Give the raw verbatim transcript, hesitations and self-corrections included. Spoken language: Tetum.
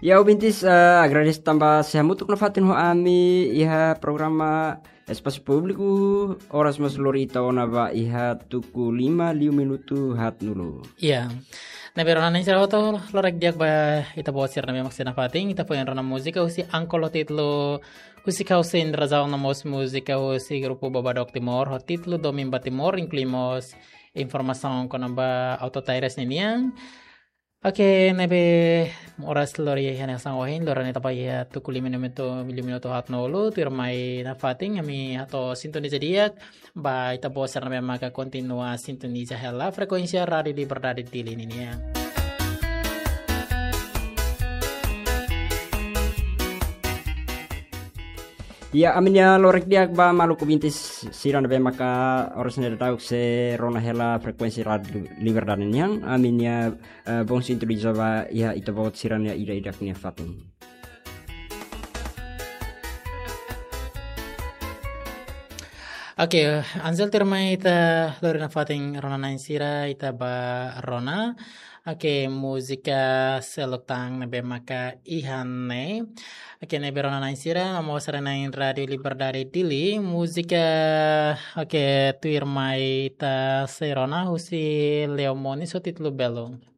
Ya, ouvintes, eh, agradese tanba sei hamutuk nafatin ho ami iha programa Espasu Públiku, oras mós lori ita ona ba iha tuku lima liu minutu haat-nulu. Ya. Ne'ebé rona na'in sira hotu, loron di'ak ba ita-boot sira ne'ebé mak sei nafatin, ita foin rona múzika husi Ankol ho títulu Husik Ha'u Sein Razaun no mós múzika husi grupu Babadok Timor ho títulu Domin ba Timor, inklui mós informasaun kona-ba Auto Taires ninian. Oke, ne'ebé oras lori hanesan ohin, loron ne'e tapa iha tuku lima minutu, lima minutu haat-nulu, tuirmai nafatin, ami hato'o sintoniza di'ak, ba ita-boot sira ne'ebé maka kontinua sintoniza hela frekuénsia Rádiu Liberdade Dili ninian. Ya, ami-nia loron di'ak ba maluk ouvintes sira ne'ebé maka oras ne'e daudauk sei rona hela frekuénsia Rádiu Liberdade nian, ami-nia, eh, bom sintoniza ba iha ita-boot sira-nia ida-idak nia fatin. Oke, Ansel, tuirmai ita lori nafatin rona na'in sira, ita ba rona. Oke, múzika seluk tan ne'ebé maka iha ne'e. Oke, ne'ebé rona na'in sira, no mós haree na'in Rádiu Liberdade Dili, múzika, oke, tuirmai ita sei rona husi Leo Moniz ho títulu Belo.